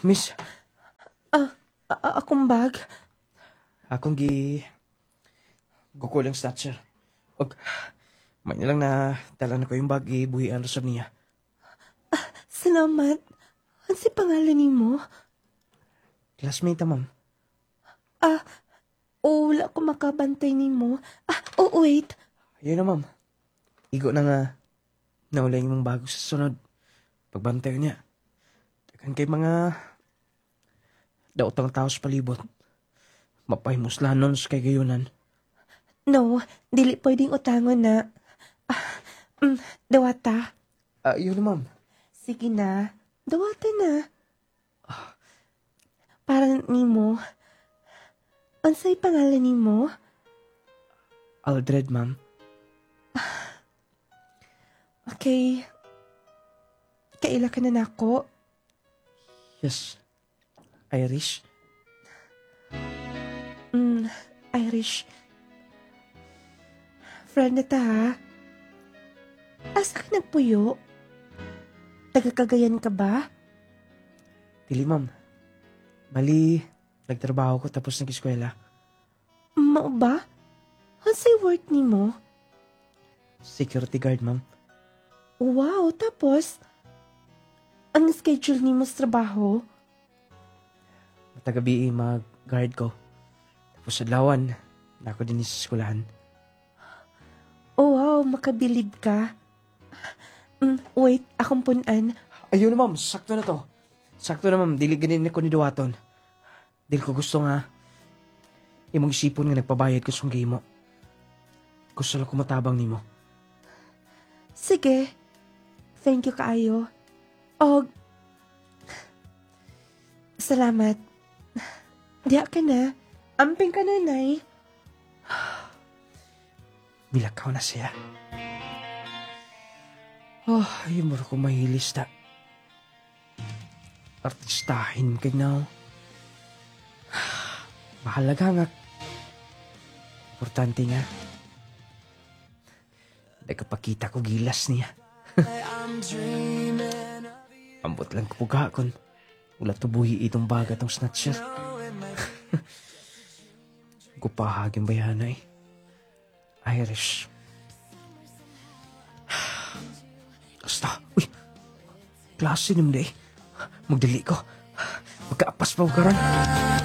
Miss, Akong bag. Akong gi gukol ang snatcher. Og may nilang na dala na ko yung bag, ibuhian ra sab niya. Salamat. Unsay pangalan nimo? Classmate ta, ma'am. Ah, oh, wala ko makabantay nimo. Ah, oh, wait. Ayun na, ma'am. Igo na nga naulay imong bago sa sunod. Pagbantay niya. Daghan kay mga daotang tao sa palibot. Mapahimuslanon sa kay gayunan. No, dili pwedeng utangon na. Ah, dawata. Ah, yun na, ma'am. Sige na. Dawata na. Para nimo. Unsay pangalan nimo? Aldred, ma'am. Okay. Kaila ka na nako? Yes. Irish. Irish. Friend na ta, ha? Asa ka nagpuyo? Taga-Cagayan ka ba? Dili, ma'am. Bali, nagtrabaho ko tapos nag-eskwela. Mao ba? Unsay work nimo? Security guard, ma'am. Wow, tapos? Ang schedule nimo sa trabaho? Matag gabii mag-guard ko. Tapos sa adlawan, nako din sa eskwelahan. Oh wow, makabilib ka. Wait, akong punan. Ayun na, ma'am, sakto na to. Sakto na, ma'am, dili ganin ko ni duwaton. Dili ko gusto nga imong isipon nga nagpabayad ko sa mo. Gusto lang ko matabang nimo. Sige. Thank you kaayo. Og salamat. Diya ka na. Amping ka na, Nay. Milakaw na siya. Oh, ay mo ko mahilis ta. Artistahin kay now. Mahalaga nga. Importante nga. Nagkapakita ko gilas niya. Ambot lang ko pugakon. Wala tubuhi itong baga tong snatcher. Gupahagin bayana eh. Irish. Basta, uy. Klase naman eh. Magdali ko. Magkaapas pa ko karon.